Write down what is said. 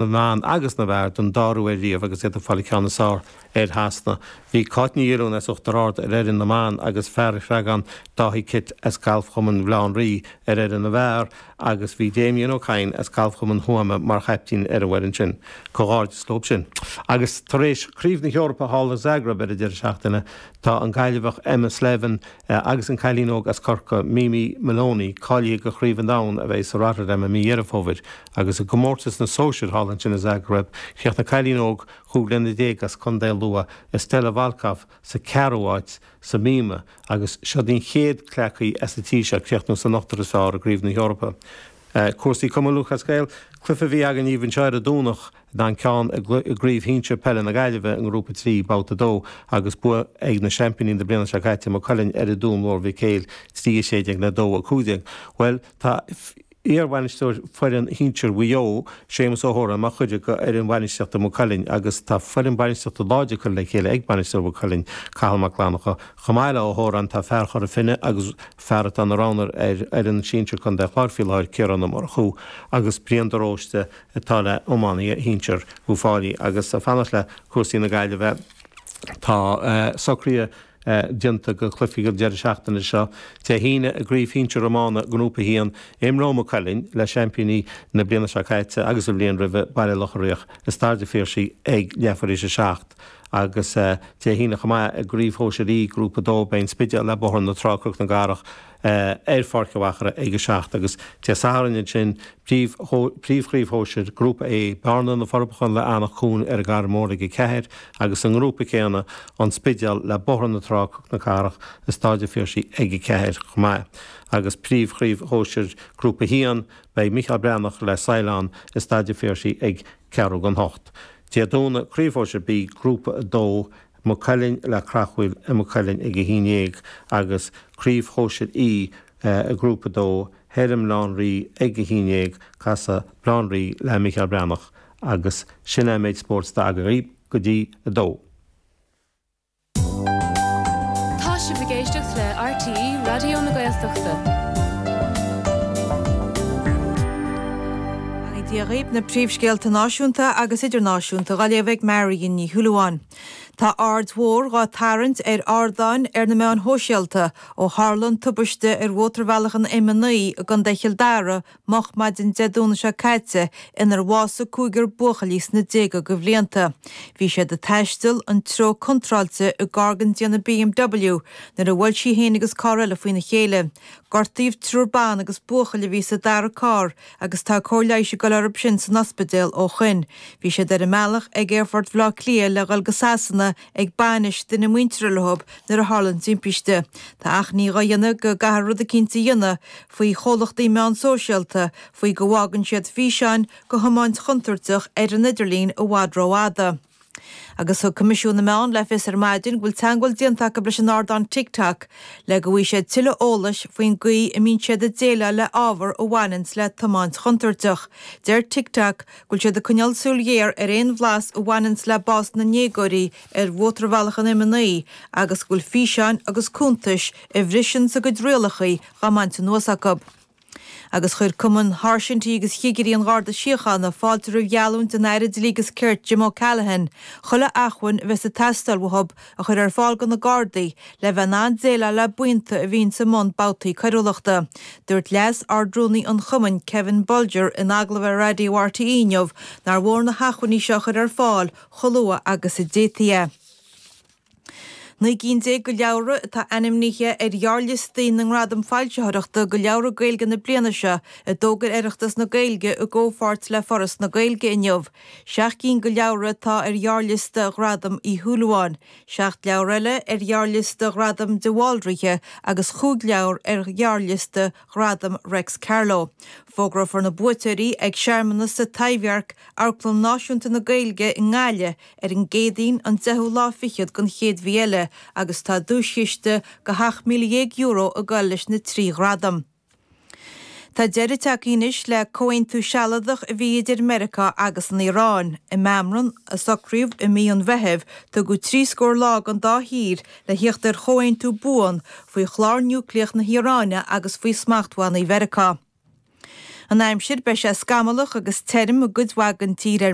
Na mban agus na bhfear don dara huair riamh agus iad ag fáil an ceann is fearr ar Shasana. Bhí Cáit Ní Dhiolúin as Uachtar Ard ar fhoireann na mban agus fear an Chreagáin Dáithí Kitt as Galfchumann Bhaile Átha an Rí ar fhoireann na bhfear agus bhí Damien Ó Cadhain as Galfchumann Thuama mar chaiptín ar an bhfoireann sin. Comhghairdeas leo sin. Agus tar éis Craobh na hEorpa thall i Zagreb ar an deireadh seachtaine tá an Gaillimheach Emma Slevin agus an cailín óg as Corcaigh, Mimi Moloney, cáilithe do Chraobh an Domhain a bheidh sa Rotterdam i mí Dheireadh Fómhair. Agus i gcomórtas na sóisear thall ansin i Zagreb, chríochnaigh cailín óg 15 bliana as Contae Lú, Estella Volkov, sa ceathrú háit sa mhíoma agus siod í an chéad gleacaí as an tír seo críochnú san ochtar is fearr i gCraobh na hEorpa. Cúrsaí Cumann Lúthchleas Gael, cluiche a bhí againn daoibh anseo ar an Domhnach ná an ceann i gCraobh Shinsir Peile na Gaillimhe i nGrúpa 3, Babhta 2, agus bua ag na seaimpíní na bliana seo caite, Maigh Cuilinn, ar an Dún Mór Mhic Éil, 3 16 le 2 15. Bhuel, tá iarbhainisteoir foireann shinsir Mhaigh Eo, Séamus Ó hÓráin, mar chuid de fhoireann bhainistíochta Mhaigh Cuilinn agus tá foireann bainistíochta láidir curtha le chéile ag bainisteoir Mhaigh Cuilinn, Cathal Mac Fhlannchadha. Chomh maith le Ó hÓráin tá fear Chora Finne agus fear atá ina roghnóir ar fhoireann sinsir Contae an Chláir faoi láthair, Ciarán Ó Murchú, agus Brian de Róiste atá le iománaithe shinsir Uíbh Fhailí. Agus ag fanacht le cúrsaí na Gaillimhe tá socruithe déanta do chluichí an deireadh seachtaine seo. Dé hAoine i gCraobh Shinsir Iomána Grúpa 1, imreoidh Maigh Cuilinn le seaimpíní na bliana seo caite agus an bhliain roimhe, Baile Locha Riach, i Staid an Phiarsaigh ag leathuair théis a 7 agus Dé hAoine chomh maith i gCraobh Shóisir E, Grúpa 2, beidh An Spidéal le Bóthar na Trá, Cnoc na gCathrach, ar Pháirc an Mhachaire ag a 7 agus Dé Sathairn ansin Príomhchraobh Shóisir, Grúpa A, Bearna, Na Forbacha le Eanach Cuain ar an gCarraig Mhór ag 4 agus sa ngrúpa céanna An Spidéal le Bóthar na Trá, Cnoc na Cathrach i Stáid an Phiarsaigh ag 4 chomh maith. Agus Príomhchraobh Shóisir, Grúpa 1, beidh Micheál Breathnach le Saighleán i Staid an Phiarsaigh ag ceathrú don hocht. Dé Domhnaigh, Craobh Shóisir B, Grúpa 2, Maigh Cuilinn le Creachmhaoil i Maigh Cuilinn ag 11 agus Craobh Shóisir E Grúpa 2, thoir i mBaile Átha an Rí ag 11, casfaidh Baile Átha an Rí le Micheál Breathnach agus sin é an méid spóirt atá againn go dtí a dó. Tá sibh ag éisteacht le RTÉ Raidió na Gaeltachta. Beannacht Dé dhaoibh, na príomhscéalta náisiúnta agus idirnáisiúnta dhá léamh ag Marion Ní Shúilleabháin. Tá aird mhór dhá tarraingt ar ardáin ar na meáin shóisialta ó tharla an tubaiste ar mhótarbhealach an M9 i gContae Chill Dara moch maidin Dé Domhnaigh seo caite inar bhásaigh cúigear buachaillí sna déaga de bhlianta. Bhí siad ag taisteal an treo contráilte i gcarr den déanamh BMW nuair a bhuail sí féin agus carr eile faoina chéile. Gortaíodh triúr ban agus buachaill a bhí sa dara carr agus tá cóir leighis ag dul orthu sin san ospidéal ó shoin. Bhí siad ar a mbealach ag aerfort Bhaile Átha Cliath le dhul go Sasana ag bainis duine muinteartha leo nuair a tharla an timpiste. Tá achainí dhá dhéanamh go gcaithfear rud eicínt a dhéanamh faoi chomhlachtaí meán sóisialta faoi go bhfágann siad físeáin de thiomáint chontúirteach ar an idirlíon i bhfad rófhada. Agus thug Coimisiún na Meán le fios ar maidin go bhfuil teagmháil déanta acu leis an ardán TikTok le go bhfaighidh siad tuilleadh eolais faoin gcaoi a mbíonn siad ag déileáil le ábhar a bhaineanns le tiomáint chontúirteach. Deir TikTok go bhfuil siad ag coinneáil súil ghéar ar aon bhlas a bhaineanns le bás na ndéagóirí ar mhótarbhealach an M9 agus go bhfuil físeáin agus cuntais a bhriseanns a gcuid rialacha dhá mbaint anuas acu. Agus chuir Cumann Sháirsintí agus Chigirí an Gharda Síochána fáilte roimh gheallúint an Aire Dlí agus Cirt Jim O'Callaghan chuile acmhainn a bheas ag teastáil uathub a chur ar fáil do na Gardaí le bheith in ann déileáil le buíonta a bhíonns i mbun babhtaí coiriúlachta. Dúirt Leas-Ard-Rúnaí an Chumainn Kevin Bolger in agallamh ar Raidió RTÉ inniu nár mhór na hacmhainní seo a chur ar fáil chomh luath agus a d'fhéadfaí é. 19 gcinn de leabhra atá ainmnithe ar ghearrliostaí na nGradam Foilsitheoireachta do Leabhra Gaeilge na bliana seo a d'fhógair Oireachtas na Gaeilge i gcomhpháirt le Foras na Gaeilge inniu. 7 gcinn de leabhra atá ar ghearrliosta Ghradam Uí Shúilleabháin, 7 leabhar eile ar ghearrliosta Ghradam de Bhaldraithe agus chúig leabhar ar ghearrliosta Ghradam Reics Carló. Fógrófar na buaiteoirí ag searmanas sa Taibhdhearc, Amharclann Náisiúnta na Gaeilge i nGaillimh, ar an gCéadaoin an deichiú lá fichead den chéad mhí eile agus tá duaischiste de €17,000 ag goil leis na 3 ghradam. Tá deireadh tagtha anois le comhaontú sealadach a bhí idir Meiriceá agus an Iaráin. I meamram a socraíodh i mí an Mheithimh, tugadh 3 scór lá don dá thír le thíocht ar chomhaontú buan faoi chlár núicléach na hIaráine agus faoi smachtbhannaí Mheiriceá. An aimsir, beidh sé scamallach agus tirim i gcuid mhaith den tír ar.